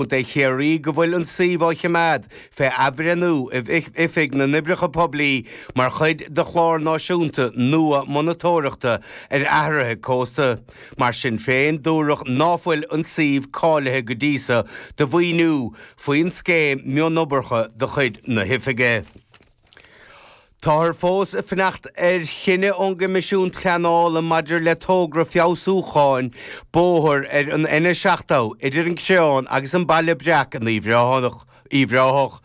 Contae Chiarraí go bhfuil an suíomh á choimeád fé athbhreithniú ag Oifig na nOibreacha Poiblí mar chuid de chlár náisiúnta nua monatóireachta ar athruithe cósta. Mar sin féin, dúradh ná fuil an suíomh cáilithe go dtí so do mhaoiniú faoin scéim mionoibreacha de chuid na hOifige. Táthar fós ag fanacht ar chinneadh ón gCoimisiún Pleanála maidir le togra feabhsúcháin bóthair ar an N70 idir an Creán agus an Baile Breac in Uíbh Ráthach.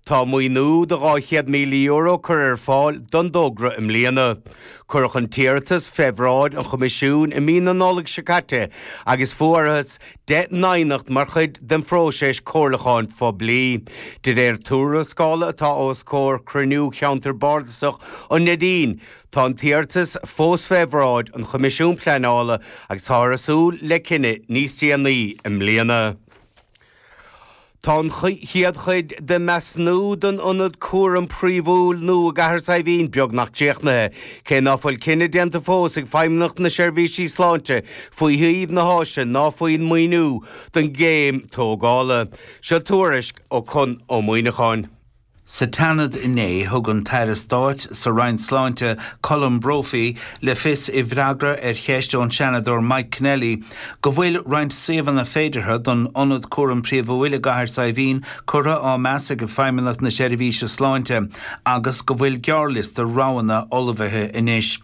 Tá maoiniú de €200,000 curtha ar fáil don dtogra i mbliana. Cuireadh an t-iarratas fé bhráid an Choimisiúin i mí na Nollag seo caite agus fuarthas 10 n-aighneacht mar chuid den phróiseas comhairliúcháin phoiblí. De réir tuarascála atá os comhair chruinniú Cheantar Bardasach an Neidín, tá an t-iarratas fós fé bhráid an Choimisiúin Pleanála agus táthar ag súil le cinneadh níos déanaí i mbliana. Tá an chéad chuid de mheasúnú don ionad cúraim príomhúil nua i gCathair Saidhbhín beagnach críochnaithe, cé ná fuil cinneadh déanta fós ag Feidhmeannacht na Seirbhísí Sláinte faoi shuíomh na háise ná faoin maoiniú don gcéim tógála. Seo tuairisc ó Con Ó Muíneacháin. Sa tSeanad inné, thug an tAire Stáit sa Roinn Sláinte, Colm Brophy, le fios i bhfreagra ar cheist ón Seanadóir Mike Kennelly go bhfuil roinnt suíomhanna féideartha don Ionad Cúraim Príomhúil i gCathair Saidhbhín curtha á meas ag Feidhmeannacht na Seirbhíse Sláinte agus go bhfuil gearrliosta roghanna ullmhaithe anois.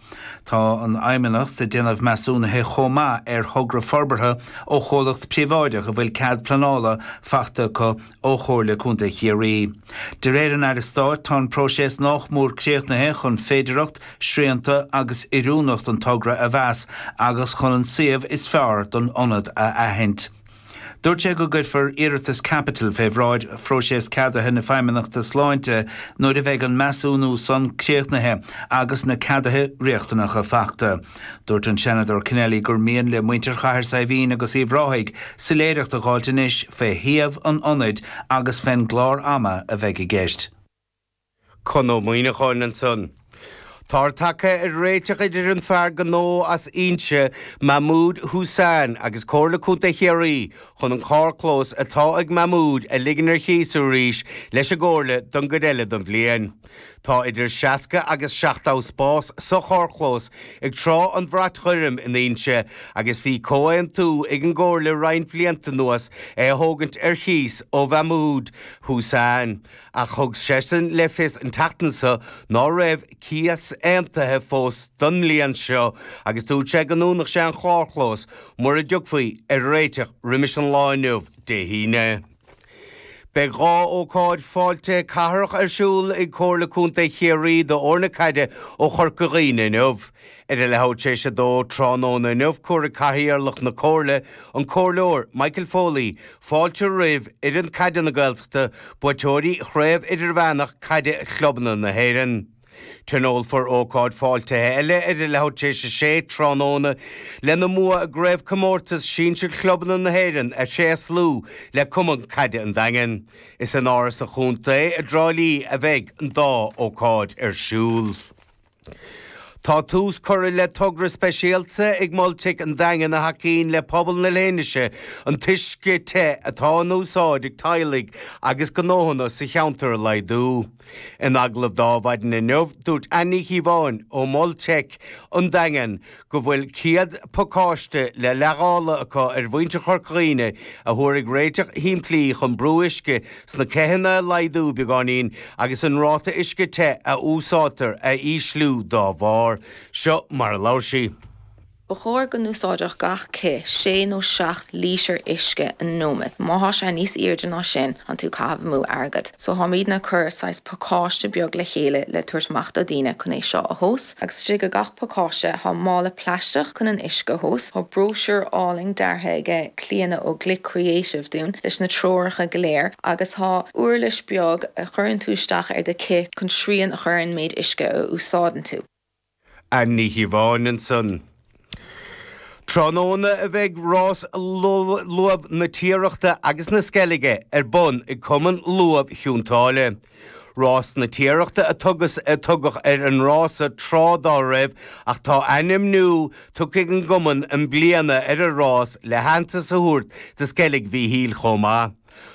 Tá an Fheidhmeannacht ag déanamh measúnaithe chomh maith ar thogra forbartha ó chomhlacht príobháideach a bhfuil cead pleanála faighte acu ó Chomhairle Contae Chiarraí. De réir an Aire Stáit, tá an próiseas nách mór críochnaithe chun féidearthacht, srianta agus oiriúnacht an togra a mheas agus chun an suíomh is fearr don ionad a aithint. Dúirt sé go gcuirfear iarratas caipitil fé bhráid phróiseas ceadaithe na Feidhmeannachta Sláinte nuair a bheidh an measúnú san críochnaithe agus na ceaduithe riachtanacha faighte. Dúirt an Seanadóir Kennelly gur mian le muintir Chathair Saidhbhín agus Uíbh Ráthaigh soiléireacht a dh'fháilt anois fé shuíomh an ionaid agus fén gclár ama a bheidh i gceist. Con Ó Muíneacháin ansan. Táthar tagtha ar réiteach idir an fear gnó as Inse, Mahmood Hussain, agus Comhairle Contae Chiarraí chun an carrchlós atá ag Mahmood a ligean ar chíos arís leis an gComhairle don gcuid eile den bhliain. Tá idir 60 agus 70 spás sa charrchlós ag Trá an Bhrait Ghoirm in Inse agus bhí comhaontú ag an gComhairle roinnt blianta anuas é a thógaint ar chíos ó Mhahmood Hussain ach thug seisean le fios an tseachtain seo ná raibh cíos aontaithe fós don mbliain seo agus dúirt sé go ndúnfadh sé an carrchlós mura dtiocfaí ar réiteach roimis an lá inniu, Dé hAoine. Beidh 2 ócáid fáiltithe cathrach ar siúl ag Comhairle Contae Chiarraí d'fhoirne caide ó Chorca Dhuibhne inniu. Ar a leathuair tar éis a dó tráthnóna inniu cuirfidh Cathaoirleach na Comhairle, an Comhairleoir Michael Foley, fáilte roimh fhoireann caide na Gaeltachta, buaiteoirí Chraobh Idirmheánach Caide Chlubanna na hÉireann. Tionólfar ócáid fáiltithe eile ar a leathuair tar éis a sé tráthnóna lena mbua i gCraobhchomórtas Sinsir Chlubanna na hÉireann a thréaslú le Cumann Caide an Daingin. Is in Áras an Chontae i dTrá Lí a bheidh an dá ócáid ar siúl. Tá tús curtha le togra speisialta ag Mol Teic an Daingin a thacaíonn le pobal na Leithinise an t-uisce te atá in úsáid ag teaghlaigh agus gnóthanna sa cheantar a laghdú. In agallamh do Adhmhaidin inniu, dúirt Anne Ní Chíobháin ó Mhol Teic an Daingin go bhfuil 100 pacáiste le leithdháileadh acu ar mhuintir Chorca Dhuibhne a thabharfaidh réiteach shimplí chun brú uisce sna ceitheanna a laghdú beagáinín agus an ráta uisce te a úsáidtear a ísliú dá bharr. Seo mar a labhair sí. Ba chóir go n-úsáidfeadh gach cith sé nó 7 lítear uisce an nóiméad. Má thá sé níos airde ná sin, thánn tú ag caitheamh amú airgead. So tháimídne ag cur saghas pacáiste beag le chéile le tabhairt amach do daoine chun é seo a thomhas. Agus istigh i gach pacáiste thá mála plaisteach chun an uisce a thomhas. Thá bróisiúr álainn deartha aige Clíona ó Glic Creative dúinn leis na treoracha go léir agus thá uirlis beag a chuireann tú isteach ar do cith chun srian a chur ar an méid uisce a úsáideann tú. Anne Ní Chíobháin ansan. Tráthnóna a bheidh rás luamh na Tiarachta agus na Sceilge ar bun ag Cumann Luamh Chionn tSáile. Rás na Tiarachta a tugas a tugadh ar an rása tráth dá raibh ach tá ainm nua tugtha ag an gcumann i mbliana ar an rás le haitheantas a thabhairt do Sceilg Mhíchíl chomh maith.